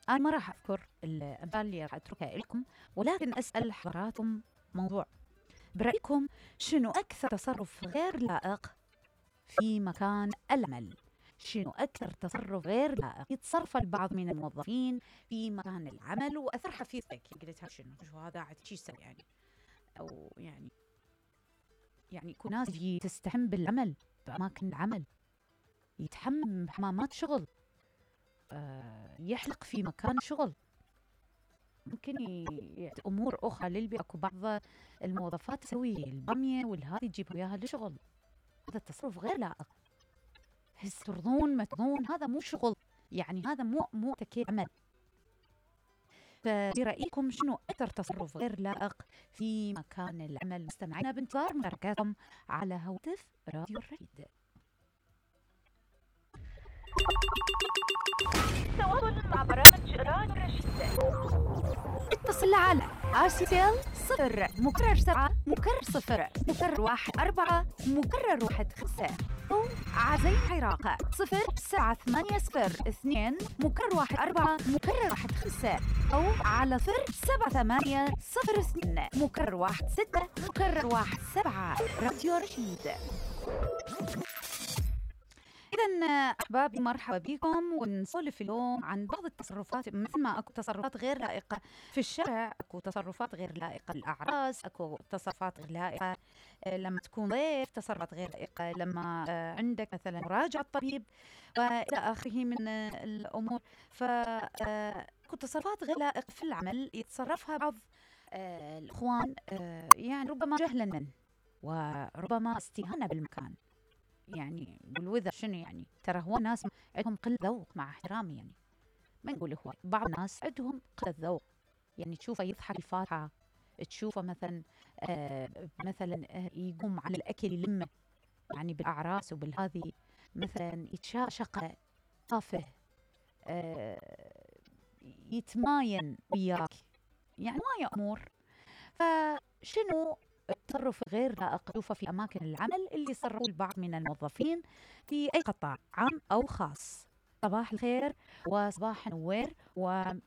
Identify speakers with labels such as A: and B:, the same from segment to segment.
A: أنا ما راح أذكر الأمثال اللي راح أتركها لكم، ولكن أسأل حضراتكم موضوع. برأيكم شنو أكثر تصرف غير لائق في مكان العمل؟ شنو أكثر تصرف غير لائق يتصرف البعض من الموظفين في مكان العمل وأثر في قلتها شو هذا عاد شو يسوي يعني؟ أو يعني يكون ناس تستحم بالعمل بأماكن العمل، يتحمم بحمامات شغل، يحلق في مكان شغل، ممكن أمور أخرى للبيئة. أكو بعض الموظفات تسوي البامية والهذي تجيب وياها لشغل، هذا التصرف غير لائق. ترضون ما ترضون هذا مو شغل، يعني هذا مو تكيل عمل. فبرأيكم شنو أكثر تصرف غير لائق في مكان العمل؟ مستمعينا بانتظار مشاركاتكم على هاتف راديو الرشيد.
B: تواصل مع برامج راديو الرشيد.
A: اتصل على RCL 0 مكرر 7 مكرر 0 مكرر 14 مكرر 15 أو عزيز عراقة 0780 مكرر 14 مكرر 15 أو على 07802 مكرر 16 مكرر 17. راديو رشيد. إذن أحبابي مرحبا بكم، ونسولف اليوم عن بعض التصرفات. مثل ما أكو تصرفات غير لائقة في الشارع، أكو تصرفات غير لائقة للأعراس، أكو تصرفات غير لائقة لما تكون ضيف، تصرفات غير لائقة لما عندك مثلا مراجعة طبيب وإلى آخره من الأمور. فأكو تصرفات غير لائقة في العمل يتصرفها بعض الإخوان، يعني ربما جهلا منه وربما استهانة بالمكان. يعني بالوذر شنو يعني؟ ترى هو ناس عندهم قلة ذوق، مع احترامي يعني ما نقول هو، بعض الناس عندهم قلة ذوق. يعني تشوفه يضحك الفاتحة، تشوفه مثلا يقوم على الأكل يلمه، يعني بالأعراس وبالهذه مثلا يتشاشق تافه، يتماين وياك، يعني ما يأمر. فشنو التصرف غير لائق تشوفه في أماكن العمل اللي يصرفوا البعض من الموظفين في أي قطاع عام أو خاص؟ صباح الخير وصباح النوير، وبانتظار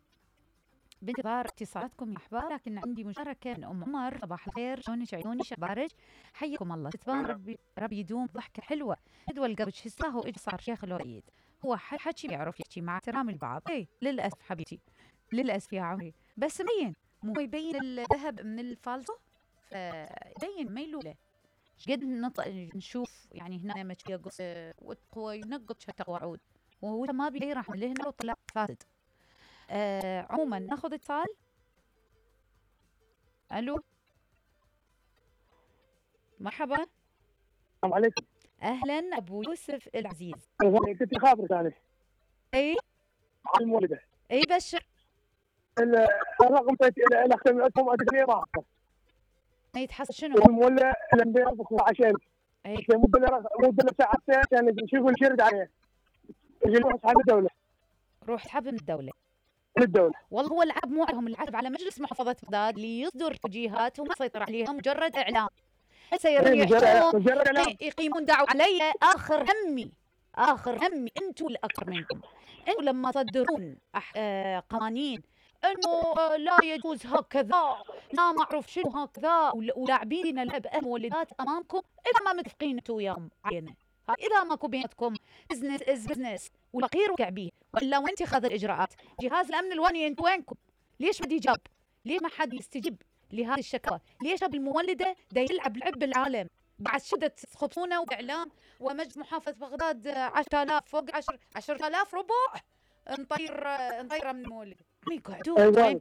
A: اتصالاتكم يا أحباب. لكن عندي مشاركة من أم عمر. صباح الخير، شلونك عيوني شبارج؟ حيكم الله. تتبان ربي يدوم ضحكة حلوة. جدوى القبج حساه إج صار شيخ الوريد، هو حكي ما يعرف يحكي مع احترام البعض. اي للأسف حبيبتي، للأسف يا عمري، بس مبين مو يبين الذهب من الفالتو، فبين ميلوله. قد نشوف يعني هنا ما يقص وتقوى ينقط شتى وعود، وهو ما بي راح لهنا وطلع فاسد. عموما ناخذ اتصال. الو مرحبا.
C: السلام عليكم.
A: اهلا ابو يوسف العزيز.
C: كنت خابرك انا.
A: اي
C: على المولده.
A: اي بشر.
C: الرقم الاخ عندهم ادري ما اعرف.
A: ما يتحصل شنو؟
C: المولى الانبياء عشان
A: اي
C: مو ساعتين عشان نشوف الشرد عليه. يجي نروح اصحاب الدوله.
A: روح اسحب من الدوله.
C: من الدوله.
A: والله هو العاب مو عليهم، العاب على مجلس محافظه بغداد ليصدر توجيهات وما يسيطر عليها، مجرد اعلام. هسه يقيمون دعوه علي. اخر همي انتم الاكثر منكم. انتم لما تصدرون قوانين انه لا يجوز هكذا، لا ما اعرف شنو هكذا، ولاعبين لعب مولدات امامكم، اذا ما متفقين انتم وياهم عينه، اذا ماكو بيناتكم بزنس از بزنس والفقير وقع بيه، ولا وانت خذ الاجراءات. جهاز الامن الوطني انتم وينكم؟ ليش ما يجاب؟ ليش ما حد يستجيب لهذه الشكوى؟ ليش المولده دا يلعب لعب بالعالم؟ بعد شدة تخطونه وإعلام ومجلس محافظة بغداد 10,000 فوق 10,000 ربع نطيره من المولد. يقعدون وينكم